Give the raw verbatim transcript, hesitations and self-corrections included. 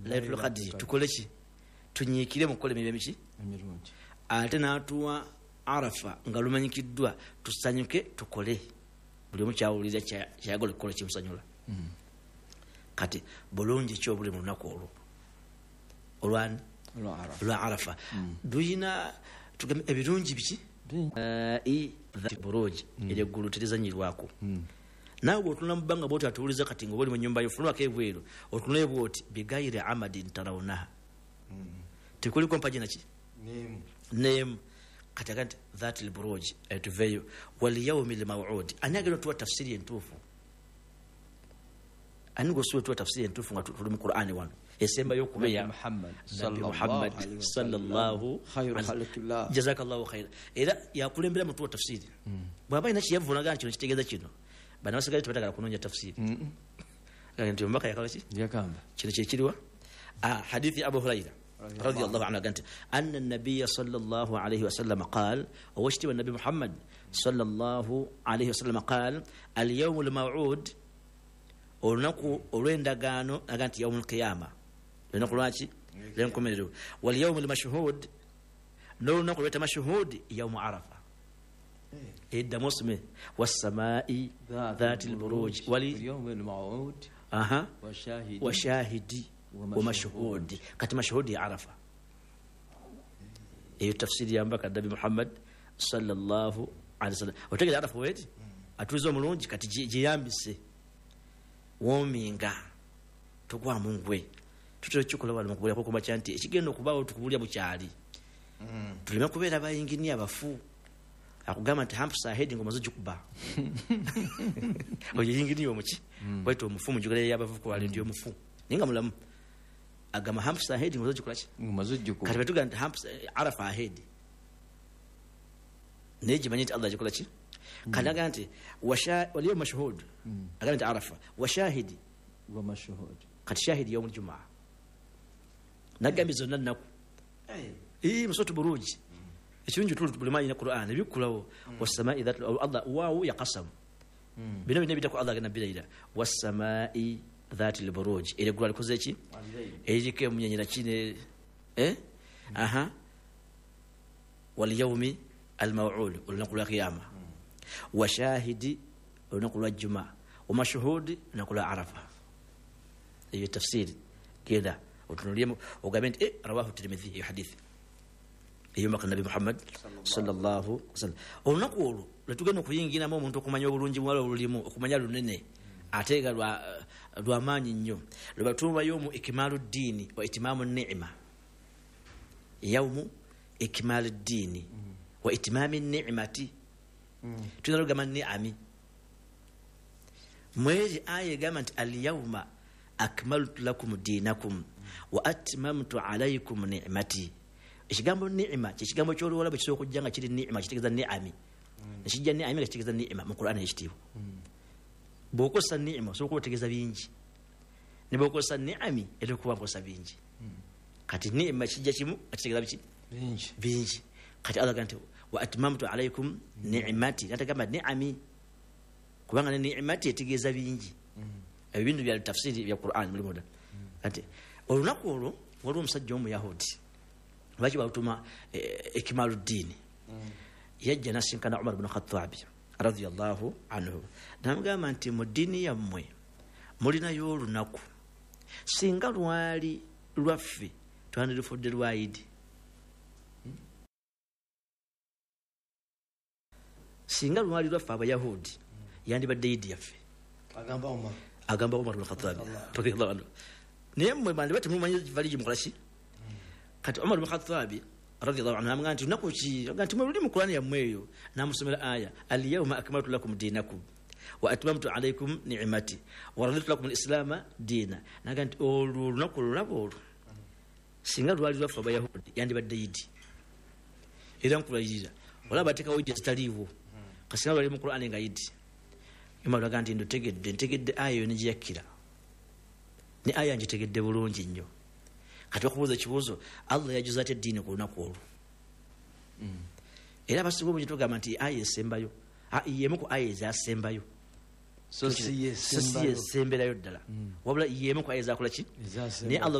Lailatul Qadri tukole ki? Tunyiikire mu kukola emirimu emiki emirungi. Ate n'atuwa Arafa nga lumanyikiddwa, tusanyuke tukole buli omu kyawulira kyayagala okukola kimusanyula. Mm. Kati bulungi ki obuli mu lunaku olwo olwani olwa Arafa? Luyina tugambe ebirungi biki? Buruji ery'eggulu terizanyirwako. Naawe bw'otunula mu bbanga bw'oti atuwuliza kati nga oli mu nnyumba yo, fulumako ebweru otunule bw'oti bigayire amadin tarawunaha, tekuliko mpagi naki neemu. Kati aga nti that lburuj etuveeyo walyaumi lmawudi. Ani agenda otuwa tafsiri entuufu? Ani gwosobola otuwa tafsiri entuufu nga tuli mu Qur'ani wano esembayo okubeya Nabbi Muhammad sallallahu alaihi jazakallahu khaira. Era yakulembera mutuwa tafsiri bw'aba alina kyeyavunaga nti kino kitegeeza kino, bano basigadde tebatagala kunoonya tafsiri. Nti omubaka yakola ki? Yagamba kino kyekiriwa hadithi Abu Huraira radiyallahu anhu agamba nti anna nabiyya sallallahu alayhi wasallam qaal, owekitiibwa Nabbi Muhammad sallallahu alayhi wasallam qaal alyawmu lmawud, olunaku olw'endagaano, aga nti yawmu lqiyama, olunaku lwaki? Lwenkomerero. Walyawmu lmashhud, n'olunaku lweta mashhud yawmu Arafa. Eddamu osome wassamai dhati lburuj walyawmi lmawud washahidi wamashhudi. Kati mashhudi ya Arafa. Eyo tafsiri ya mbaka Nabi Muhammad sallallahu alaihi wasallam. Otegera Arafa weti atuliza omulungi, kati giyambise wominga tugwa mungwe tutera kikola wano mukubulya kumakya nti ekigenda okubaawo tukubulya bukyali. Tuleme kubeera bayinginiya bafu akugamba nti hampusa ahead ng'omaze ogikuba oyo yinginiya omuki waita omufu munjogera y'abavubuka wali ndi omufu naye nga mulamu agamba hampusa ahead ng'omaze ogikola ki? Ng'omaze ogikuba. Kati batugamba nti hampusa Arafa ahead, naye gimanye nti Allah agikola ki? Kati agamba nti waliyo mashhud, agamba nti Arafa washahidi wa mashhud. Kati shahidi yawmul jumaa nagambye zonna nnaku musotu buruji ekirungi tuli buli manyi ne Qur'an ebikkulawo wassamai dhati Allah waawu yaqasamu bino bino ebitako Allah agenda birayira wassamai dhati lburuj, era eggulu alikoze ki? Eriko emunyenyera kine aha walyaumi almawud, olunaku lwa kiyama, washahidi olunaku lwa juma, wamashhudi olunaku lwa Arafa. Eyo tafsiri genda otunulyemu ogambe nti rawahu Tirmidhi, eyo hadithi eyo mbaka Nabi Muhammad sallallahu alaihi wasallam. Olunaku olwo lwetugenda okuyingiramu omuntu okumanya obulungi bwalwo olulimu, okumanya lunene ate nga lwamaanyi nnyo, lwebatuuma yawmu ikmaalu ddiini wa itimaamu ni'ma. Yawmu ikmaalu ddiini wa itimaami ni'mati, tuyinza okugamba ni'ami. Mweri aya egamba nti alyawma akmaltu lakum diinakum wa atmamtu alaykum ni'mati. Ekigambo ni'ma kyekigambo ky'oluwala bwe kisobola okujja nga kiri ni'ma kitegeeza ni'ami, nekijja ni'ami nga kitegeeza ni'ma mu Qur'ani ekitiibwa. Bw'okozesa ni'ma osobola okuba otegeeza bingi, ne bw'okozesa ni'ami era okuba nkozesa bingi. Kati ni'ma kijja kimu nga kitegeeza biki? Bingi. Kati Allah agamba nti wa atmamtu alaykum ni'mati, natagamba ni'ami kubanga ne ni'mati etegeeza bingi. Ebyo bintu bya tafsiri bya Qur'an mulimu dda. Kati olunaku olwo waliwo omusajja omuyahudi lwaki balutuma ikmalu ddiini, yajja nasinkana Umar bin Khattabi radiyallahu anhu, namugamba nti mu ddiini yammwe mulinayo olunaku, singa lwali lwaffe twandirufudde lwa Idi, singa lwali lwaffe abayahudi yandibadde Idi yaffe. Agamba Umar, agamba Umar bin Khattabi radiyallahu anhu, naye mmwe bandiba temumanyi vali gyemukola ki? Kati Umar bin Khattabi radiyallahu anhu amugamba nti lunaku ki? Agamba nti mwe luli mu Qur'ani yammwe eyo. N'amusomera aya alyawma akmaltu lakum diinakum wa atmamtu alaykum ni'mati wa raditu lakum al-islama diina. N'agamba nti olwo olunaku olulaba olwo singa lwali lwaffe abayahudi yandibadde Idi. Era nkulayirira olaba bateekawo Idi ezitaliiwo, kasinga lwali mu Qur'ani nga Idi. Umar agamba nti ndutegedde, ntegedde aya eyo ne gyeyakkira, ne aya ngitegedde bulungi nnyo. Kati bakubuuza ekibuuzo, Allah yajuza atya eddiini ku lunaku olwo? Era abasinga obungi tugamba nti aya esembayo, y'emu ku aya ezasembayo, so si yesemberayo ddala, wabula y'emu ku aya ezakola ki? Naye Allah